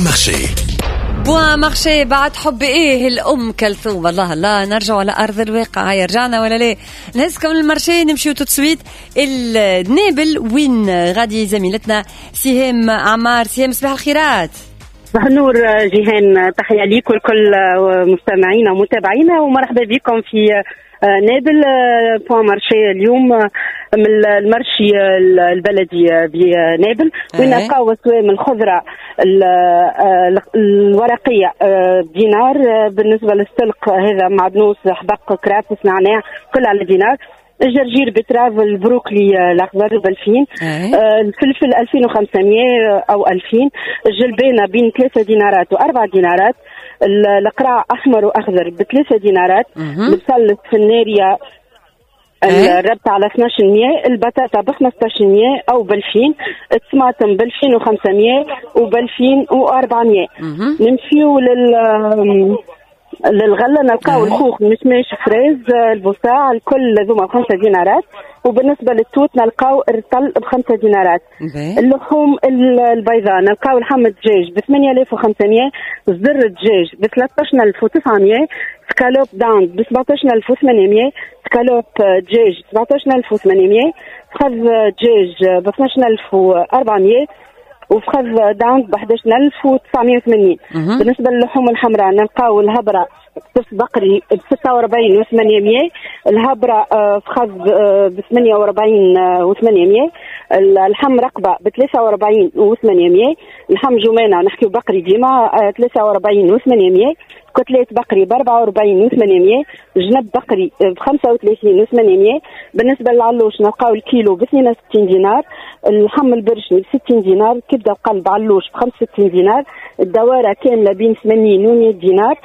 Point Marché. Point Marché بعد حب ايه الام كلثوم. الله الله، نرجع على ارض الواقع. هيا رجعنا ولا لا؟ نهزكم لل marché، نمشيو tout de suite النابل وين غادي زميلتنا سهام عمار. سهام، صباح الخيرات. صباح النور جيهان، تحية ليك ولكل مستمعينا ومتابعينا، ومرحبا بكم في نابل. Point Marché اليوم من ال marché البلدي بنابل، وين نلقاو اسوام الخضرة الورقية بدينار. بالنسبة للسلق هذا معدنوس، حبق، كرافس، نعناع، كل على دينار. الجرجير، betterave، البروكلي الاخضر ب2000. الفلفل 2500 او 2000. الجلبانه بين 3 دينارات و4 دينارات. القراع احمر واخضر ب3 دينارات. البصل السفناريه الربطة على 1200. البطاطا ب 1500 او ب 2000. الطماطم ب 2500 وب 2400. نمشيو للغله، نلقاو الخوخ، مشماش، fraise، البوصاع، الكل هذوما ب5 دينارات. وبالنسبة للتوت نلقاو الرطل ب5 دينارات. اللحوم البيضاء نلقاو لحم الدجاج ب 8500، صدر الدجاج ب 13900، escalope dinde ب 17800، سكالوب دجاج 17800، فخذ دجاج ب 12400، وفخذ dinde ب 11980. بالنسبة للحوم الحمراء نلقاو الهبره كتف بقري ب 46 و800، الهبره فخذ ب 48 و800، اللحم رقبة ب 43 و800، اللحم جمانه، نحكيو بقري ديما، 43 و800، côtelette بقري ب 44 و800، جنب بقري ب 35 و800. بالنسبة للعلوش نلقاو الكيلو ب 62 دينار، اللحم البرشني ب 60 دينار، كبده قلب علوش ب 65 دينار، الدواره كاملة بين 80 و 100 دينار،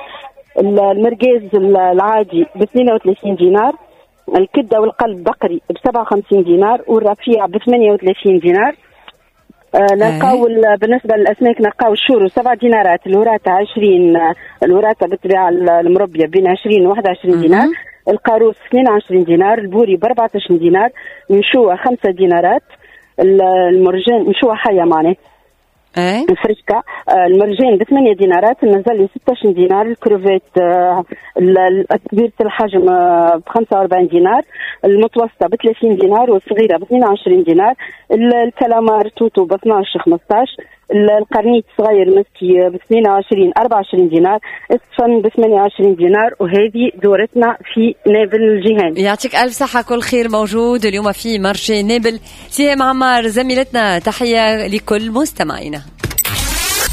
المرقاز العادي ب 32 دينار، الكبده والقلب بقري ب 57 دينار، والرفيع ب 38 دينار. نلقاو بالنسبة للاسماك نلقاو الشورو 7 دينارات، الوراثة 20، الوراثة بالطبيعة المربيه بين 20 و 21 دينار، القاروس 22 دينار، البوري ب 14 دينار، نشوه 5 دينارات، المرجان نشوه حيه معناه الفريشكا، المرجان ب 8 دينارات، النزلي 16 دينار، الكروفيت كبيرة الحجم ب 45 دينار، المتوسطة ب 30 دينار، والصغيرة ب 22 دينار، الكلامار توتو ب 12 15، القرنيط صغير مسكي ب 22 24 دينار، السفن ب 28 دينار. وهذه دورتنا في نابل جيهان. يعطيك ألف صحة، كل خير موجود اليوم في marché نابل. سهام عمار زميلتنا، تحية لكل مستمعينا.